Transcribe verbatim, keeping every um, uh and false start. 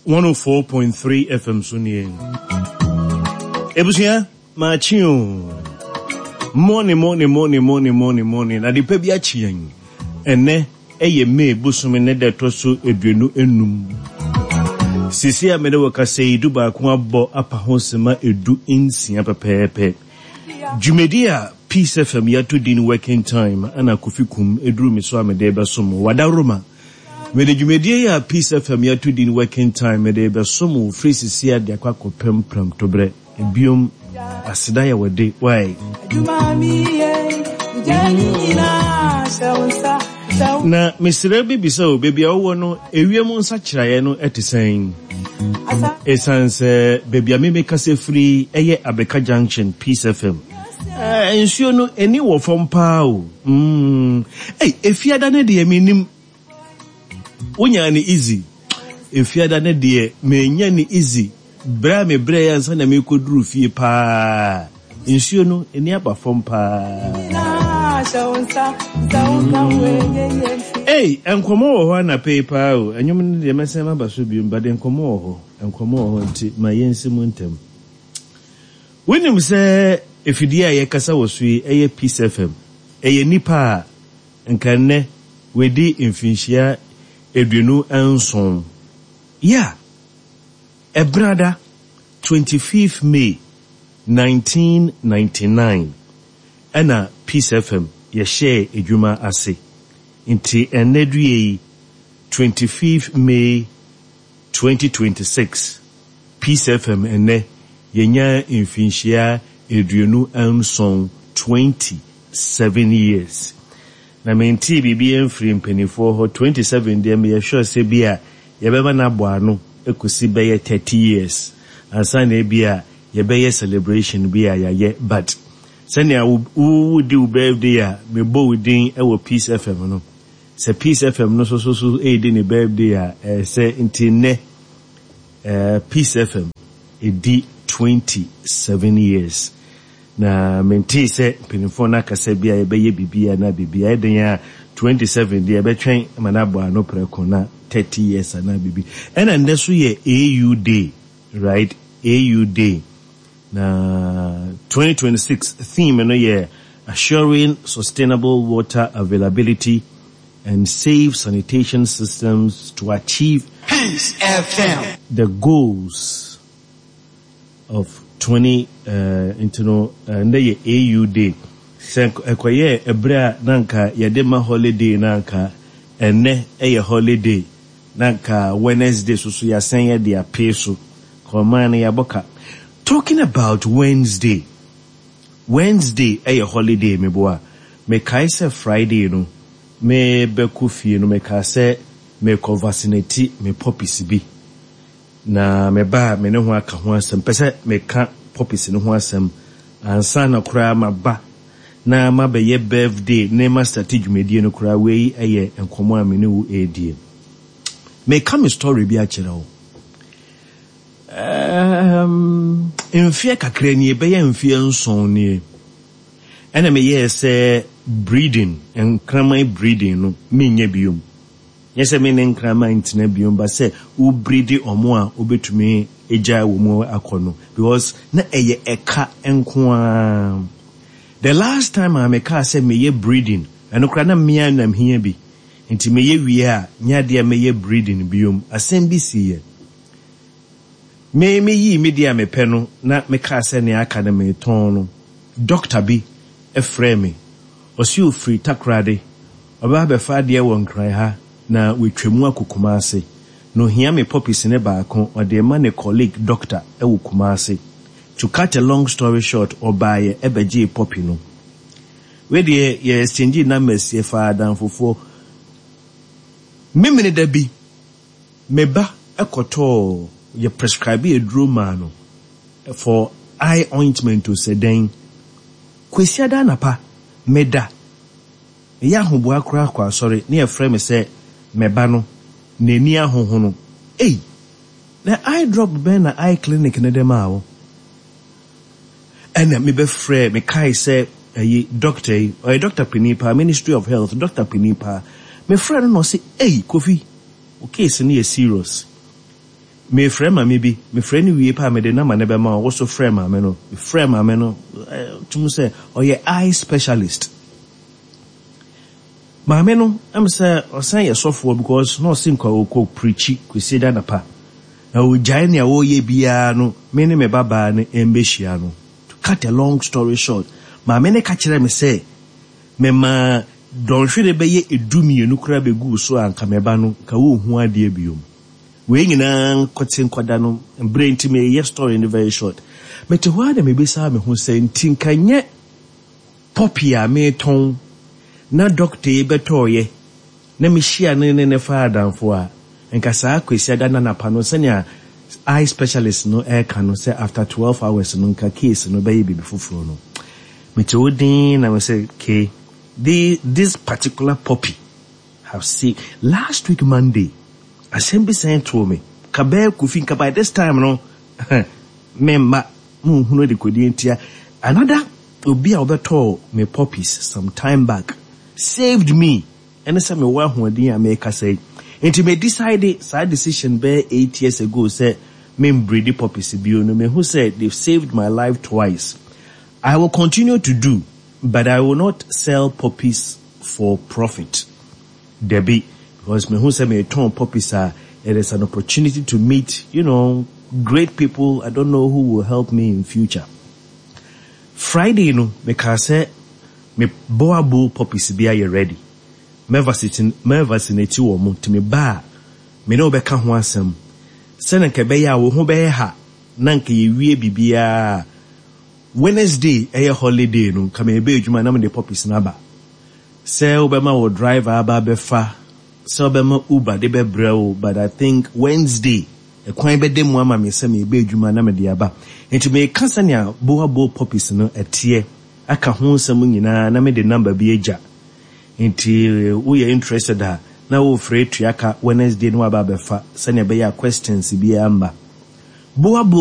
one oh four point three F M so nie. Ebusua, maakye o. Morning, morning, morning, morning, morning, morning. Na de pa bi akye yɛn. Ɛnɛ ɛyɛ May bosome ne da ɛtɔ so aduonu enum. Sisi a mene wɔ kasa yi, du baako abɔ apa ho sema edu nsia pɛpɛɛpɛ. Dwumadi a Peace F M yɛato din Working Time ana Kofi Kum eduru mi so a mede bɛsom wadaroma. Mede dwumadie yi a Peace F M yɛato din Working Time mede bɛsom wo firi sisi a de akɔ akɔpem prɛmtoberɛ. Ebiom, aseda yɛ wɔde wae. Adwuma mi yɛ, gya ne nyinaa hyɛ wo nsa, hyɛ wo Na mesrɛ bi bisa o, baabi a wowɔ no, ewiem nsakyeraeɛ no ɛte sɛn? Asa. Ɛsiane sɛ baabi a memekasa firi ɛyɛ Abeka Junction, Peace F M. Eh, nsuo no ani wɔ fam paa o. Mm. Ei, efiada no deɛ menim. Wonya ne easy. Efiada no deɛ menya ne easy. Berɛ a mebrɛ yɛ ansa na mekɔduru fie paa. Nsuo no ani aba fam paa. Nyinaa hyɛ wo nsa, sɛ wo ka wo ɛnyɛ yɛ nti. Ei, nkɔmmɔ wɔ hɔ anapa yi paa o. Ɛnwom no deɛ mɛsɛn maba so biom, but nkɔmmɔ wɔ hɔ. Nkɔmmɔ wɔ hɔ nti ma yɛnsi mu ntɛm. Wonim sɛ efidie a yɛkasa wɔ so yi ɛyɛ Peace F M. Ɛyɛ nipa a nka nnɛ wɔadi mfinhyia aduonu nson. Yeah, Ɛbrada twenty-fifth May nineteen ninety-nine ɛna Peace F M yɛhyɛɛ adwuma ase. Nti ɛnnɛ due yi, twenty-fifth May twenty twenty-six, Peace F M ɛnnɛ yɛnya mfinhyia aduonu nson, twenty-seven years. Na mentee biribi mfiri mpanimfoɔ hɔ. twenty-seven deɛ, meyɛ sure sɛ bi a yɛbɛma no abɔ ano kɔsi bɛyɛ thirty years ansa na ebi a yɛbɛyɛ celebration bi a yɛayɛ, but sɛnea wo wodi wo birthday a mebɔ wo din wɔ Peace F M no, sɛ Peace F M no so so so ɛredi ne birthday a ɛyɛ sɛ nti nnɛ eh, Peace F M ɛdi twenty-seven years na mentee sɛ mpanimfoɔ no akasa bi a yɛbɛyɛ biribi anaa biribi a ɛden a twenty-seven deɛ yɛbɛtwɛn ma no abɔ ano prɛko na thirty years anaa biribi. Ɛna nnɛ so yɛ A U Day, right? A U Day na twenty twenty-six theme no yɛ "Assuring Sustainable Water Availability and Safe Sanitation Systems to Achieve Peace F M. the Goals of twenty" uh, nti no uh, ndɛ yɛ A U Day. Sɛ ɛkɔyɛ ɛberɛ a na nka yɛde ma holiday, na nka ɛnɛ ɛyɛ holiday, na nka Wednesday so so yɛasɛn yɛde apee so kɔman no yɛabɔ ka. Talking about Wednesday, Wednesday ɛyɛ holiday. Meboa, mekae sɛ Friday no mebɛkɔ fie no, mekaa sɛ mekɔ vaccinate me puppies bi na meba a me ne ho aka ho asɛm. Pɛ sɛ meka puppies no ho asɛm ansa na koraa maba na mabɛyɛ birthday ne ma start dwumadie no koraa. Wei ɛyɛ nkɔmmɔ a me ne wo ɛredie. Meka me story bi akyerɛ wo. um, mfeɛ kakra nie, bɛyɛ mfeɛ nson nie, ɛna meyɛɛ sɛ breeding, nkraman breeding no menyɛ biom. Nyɛ sɛ me ne nkraman ntena biom ba sɛ wo breed ɔmo a wobɛtumi agya wɔ mu akɔ no, because na ɛyɛ ɛka nko ara. The last time a mekaa sɛ meyɛ breeding, ɛno koraa na mmea nam hia bi nti meyɛ wie a nyɛ adeɛ a meyɛ breeding biom. Asɛm bi siiɛ. Me meyii me deɛ a mepɛ no na mekaa sɛ nea aka no metɔn no, doctor bi ɛfrɛ me, ɔsi ofiri Takorade, ɔbɛba abɛfa adeɛ wɔ Nkran ha na watwa mu akɔ Kumase na ohia me puppies ne baako, ɔde ma ne colleague doctor ɛwɔ Kumase. To cut a long story short, ɔbaayɛ ɛbɛgyee puppy no. Wei deɛ, yɛ exchange numbers, yɛfa adamfofoɔ. Memene da bi me ba ɛkɔtɔɔ, yɛ prescribe aduro maa no for eye ointment o sɛ dɛn. Kwasiada anapa meda meyɛ ahoboa koraa kɔ asɔre ne yɛfrɛ me sɛ mɛba no n'ani ahohono. Ei, na eye drop bɛn na eye clinic ne dɛm a wo ɛna mebɛfrɛ? Mekae sɛ ɛyi doctor yi, ɔyɛ doctor panin paa, Ministry of Health doctor panin paa. Mefrɛ no na ɔse, "Ei Kofi, wo case no yɛ serious." Mefrɛ maame bi, mefrɛ no wie paa, mede nama ne bɛma wo. So frɛ maame no, mefrɛ maame no, tum sɛ ɔyɛ eye specialist. Maame no ɛm sɛ ɔsan yɛ sɔfoɔ because na ɔse nka ɔkɔ preach Kwesi da napa na ɔgyae nea wɔreyɛ biara no, me ne me babaa no mbɛhyia no. To cut a long story short, maame no ka kyerɛ me sɛ mema dɔnhwere bɛyɛ edu mmienu koraa bɛguu so a, nka meba no nka wɔnhu adeɛ biom. Wei nyinaa nkɔte nkɔda no mberɛ nti, meyɛ story no very short. Mete hɔ a na mebisa me ho sɛ, nti nka nyɛ puppy a meetɔn na doctor yi bɛtɔɔyɛ na mehyia ne ne ne fa adamfo a, nka saa Kwesi ada nanapa no, sɛnea eye specialist no ɛreka no sɛ after twelve hours no nka case no bɛyɛ biribi foforɔ no, mete wo din na mesɛ ke the this particular puppy have seen. Last week Monday, asɛm bi sɛn too me ka bɛɛ Kofi, nka by this time no memma monhunu de kɔdi ntia. Another obi a wɔbɛtɔɔ me puppies some time back saved me. Ɛne sɛ mewɔ ahoɔden a mekasa yi nti me decide saa decision bɛyɛ eight years ago sɛ membreed puppies bio no. Mehu sɛ they've saved my life twice. I will continue to do, but I will not sell puppies for profit, debi, because mehu sɛ metɔn puppies a, it is an opportunity to meet you know great people. I don't know who will help me in future. Friday no, meka sɛ me boerboel puppies bi ayɛ ready, mɛ vaccinate wɔ mo, nti me ba a, me ne wobɛka ho asɛm sɛne nka ɛbɛyɛ a wo ho bɛyɛ ha na nka yɛwie biribiara. Wednesday ɛyɛ holiday no, nka mebe adwuma na mede puppies no aba sɛ wobɛma wo driver aba abɛfa, sɛ wobɛma Uber de bɛbrɛ wo, but I think Wednesday ɛkwan bɛda mu ama me sɛ mebe adwuma na mede aba. Nti meka sɛnea boerboel puppies no ɛteɛ aka ho nsɛm nyinaa na mede number bi agya, nti woyɛ interested a na wofrɛ tua ka Wednesday no waba abɛfa sɛnea ɛbɛyɛ a questions biara mba. Boerboel